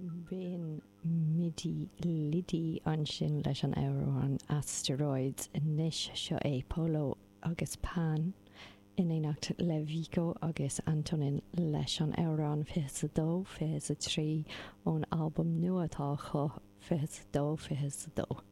B'in Middy Liddy ansin leis an amhrán Asteroids. Anois seo é Polo agus Pan in éineacht le Vico agus Antonin leis an amhrán 22, 23 ón albam nua atá acu, 22, 22.